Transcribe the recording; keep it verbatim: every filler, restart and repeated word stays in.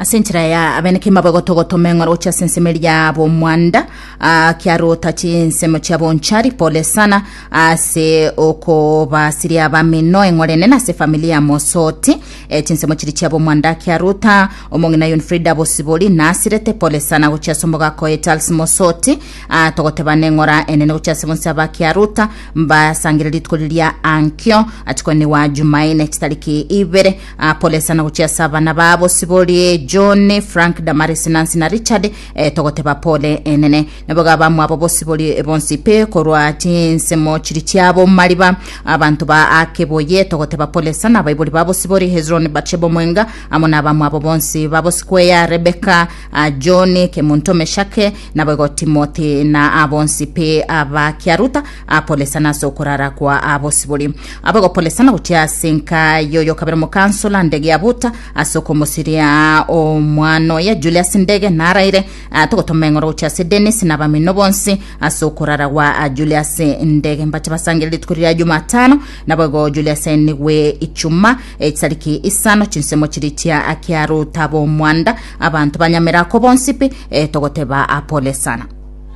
Ase enchera ya abeneke mabwe eng'ora gochia ase ensemo eria bomwanda, ah, kiarota chinsemo chia bonchari, pole sana ase okobasiria abamino, eng'ora enene ase familia ya Mosoti. eh, chinsemo chiri chia bomwanda kiarota, omong'ina Yunfrida Bosibori nasirete, pole sana gochia ase omogaka oye Charles Mosoti. ah, togoteba neng'ora enene gochia ase bonsi aba kiaruta mbasangire rituko riria ankio achikoni wa Jumaine chitariki ibere. ah, pole sana gochia ase abana ba Bosibori, John, Frank, Damaris, Nancy na Richard. eh, togoteba pole enene nabo bamwabo Bosibori bonsi pe korwa chinsemo chiri chiabo mariba abantu ba akeboye, togoteba pole sana abaibori ba Bosibori, Hezron, Batshebo Mwenga amo na abamwabo bonsi babosikweya, Rebecca, uh, John Kemunto, Meshake naboigo Timothy na abonsi pe abakiaruta. uh, pole sana ase okorara kwa abosibori abogo, pole sana gochia ase nka yoyo kabere mokansola Ndege ya buta ase okomosiria omwana oye Julius Ndege naraire. uh, togotoma eng'oro gochia ase Dennis na bamino bonsi ase okorara gwa uh, Julius Ndege, mbache basangere rituko ria Jumatano naboigo Julius niwe Ichuma echitariki isano chinsemo chiri chia akiaruta bomwanda abantu banyamerako bonsi pi, eh, togoteba apole sana.